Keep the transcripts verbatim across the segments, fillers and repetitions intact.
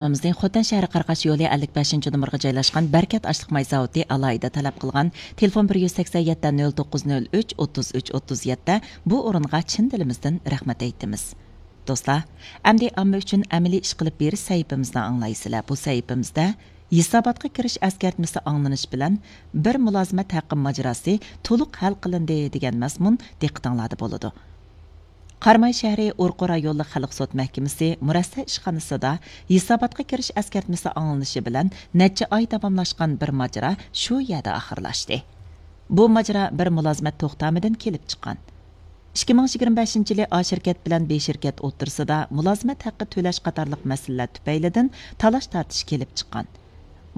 رايونىمىزنىڭ خوتەن شەھىرى قاراقاش يولى ئەللىك بەشىنچى نومۇرغا جايلاشقان بەرىكەت ئاشلىق ماي زاۋۇتى ئالاھىدە تەلەپ قىلغان تېلېفون بىر يۈز سەكسەن يەتتە، نۆل توققۇز، نۆل ئۈچ، ئوتتۇز ئۈچ، ئوتتۇز يەتتە بۇ ئورۇنغا چىن دىلىمىزدىن رەھمەت ئېيتىمىز. دوستلار، ئەمدى ئامما ئۈچۈن ئەمەلىي ئىش قىلىپ بېرىش سەھىپىمىزنى ئاڭلايسىلەر. بۇ سەھىپىمىزدە ھېساباتقا كىرىش ئەسكەرتمىسى ئاڭلىنىش بىلەن بىر مۇلازىمەت ھەققى ماجىراسى تولۇق ھەل قىلىندى دېگەن مەزمۇن دىققىتىڭلاردا بولىدۇ. قاراماي شەھىرى ئورقا رايونلۇق خەلق سوت مەھكىمىسى مۇرەسسە ئىشخانىسىدا ھېساباتقا كىرىش ئەسكەرتمىسى ئاڭلىنىشى بىلەن نەچچە ئاي داۋاملاشقان بىر ماجىرا شۇ يەردە ئاخىرلاشتى. بۇ ماجىرا بىر مۇلازىمەت توختامىدىن كېلىپ چىققان. ئىككى مىڭ يىگىرمە بەشىنچى يىلى ئا شىركەت بىلەن بې شىركەت ئوتتۇرىسىدا مۇلازىمەت ھەققى تۆلەش قاتارلىق مەسىلىلەر تۈپەيلىدىن تالاش تارتىش كېلىپ چىققان.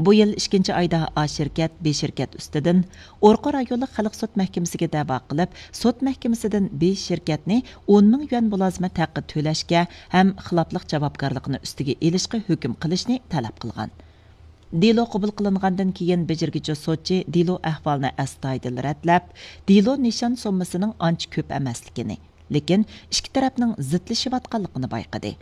بۇ يىل ئىككىنچى ئايدا ئا شىركەت، بې شىركەت ئۈستىدىن ئورقا رايونلۇق خەلق سوت مەھكىمىسىگە دەۋا قىلىپ، سوت مەھكىمىسىدىن بې شىركەتنى ئون مىڭ يۈەن مۇلازىمەت ھەققى تۆلەشكە ھەم خىلاپلىق جاۋابكارلىقىنى ئۈستىگە ئېلىشقا ھۆكۈم قىلىشنى تەلەپ قىلغان. دېلو قوبۇل قىلىنغاندىن كېيىن، بېجىرگۈچى سوتچى دېلو ئەھۋالىنى ئەستايىدىل رەتلەپ، دېلو نىشان سوممىسىنىڭ ئانچە كۆپ ئەمەسلىكىنى، لېكىن ئىككى تەرەپنىڭ زىتلىشىۋاتقانلىقىنى بايقىدى.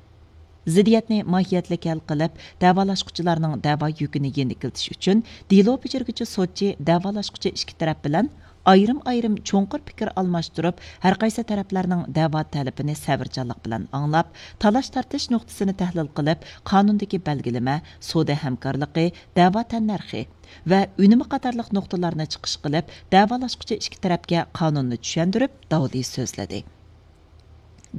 زىددىيەتنى ماھىيەتلىك ھەل قىلىپ، دەۋالاشقۇچىلارنىڭ دەۋا يۈكىنى يېنىكلىتىش ئۈچۈن، دېلو بېجىرگۈچى سوتچى دەۋالاشقۇچى ئىككى تەرەپ بىلەن ئايرىم-ئايرىم چوڭقۇر پىكىر ئالماشتۇرۇپ، ھەرقايسى تەرەپلەرنىڭ دەۋا تەلىپىنى سەۋرچانلىق بىلەن ئاڭلاپ، تالاش-تارتىش نۇقتىسىنى تەھلىل قىلىپ، قانۇندىكى بەلگىلىمە، سودا ھەمكارلىقى، دەۋا تەننەرخى ۋە ئۈنۈمى قاتارلىق نۇقتىلارنى چىقىش قىلىپ، دەۋالاشقۇچى ئىككى تەرەپكە قانۇننى چۈشەندۈرۈپ، داۋلى سۆزلىدى.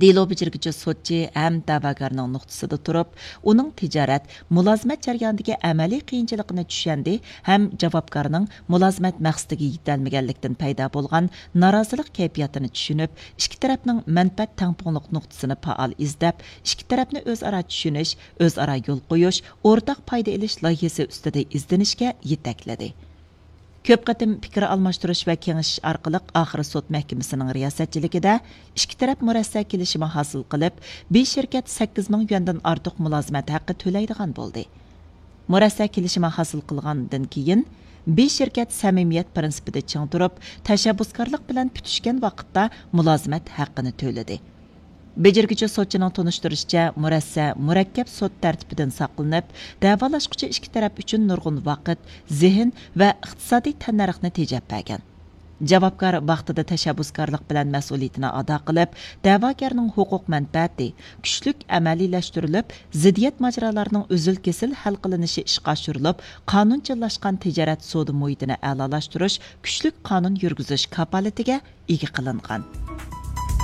دېلو بېجىرگۈچى سوتچى ھەم دەۋاگەرنىڭ نۇقتىسىدا تۇرۇپ، ئۇنىڭ تىجارەت، مۇلازىمەت جەريانىدىكى ئەمەلىي قىيىنچىلىقىنى چۈشەندى ھەم جاۋابكارنىڭ مۇلازىمەت مەقسىتىگە يېتەلمىگەنلىكتىن پەيدا بولغان نارازىلىق كەيپىياتىنى چۈشىنىپ، ئىككى تەرەپنىڭ مەنپەئەت تەڭپۇڭلۇق نۇقتىسىنى پائال ئىزدەپ، ئىككى تەرەپنى ئۆزئارا چۈشىنىش، ئۆزئارا يول قويۇش، ئورتاق پايدا ئېلىش لايىھىسى ئۈستىدە ئىزدىنىشكە يېتەكلىدى. كۆپ قېتىم پىكىر ئالماشتۇرۇش ۋە كېڭىشىش ئارقىلىق ئاخىرى سوت مەھكىمىسىنىڭ رىياسەتچىلىكىدە ئىككى تەرەپ مۇرەسسە كېلىشىمى ھاسىل قىلىپ، بې شىركەت سەككىز مىڭ يۈەندىن ئارتۇق مۇلازىمەت ھەققى تۆلەيدىغان بولدى. مۇرەسسە كېلىشىمى ھاسىل قىلغاندىن كېيىن، بې شىركەت سەمىمىيەت پىرىنسىپىدا چىڭ تۇرۇپ، تەشەببۇسكارلىق بىلەن پۈتۈشكەن ۋاقىتتا مۇلازىمەت ھەققىنى تۆلىدى. بېجىرگۈچى سوتچىنىڭ تونۇشتۇرۇشىچە، مۇرەسسە مۇرەككەپ سوت تەرتىپىدىن ساقلىنىپ، دەۋالاشقۇچى ئىككى تەرەپ ئۈچۈن نۇرغۇن ۋاقىت، زېھىن ۋە ئىقتىسادىي تەننەرخنى تېجەپ بەرگەن. جاۋابكار ۋاقتىدا تەشەببۇسكارلىق بىلەن مەسئۇلىيىتىنى ئادا قىلىپ، دەۋاگەرنىڭ ھوقۇق مەنپەئەتى كۈچلۈك ئەمەلىيلەشتۈرۈلۈپ، زىددىيەت ماجىرالارنىڭ ئۈزۈل-كېسىل ھەل قىلىنىشى ئىشقا ئاشۇرۇلۇپ، قانۇنچىللاشقان تىجارەت سودا مۇھىتىنى ئەلالاشتۇرۇش، كۈچلۈك قانۇن يۈرگۈزۈش كاپالىتىگە ئىگە قىلىنغان.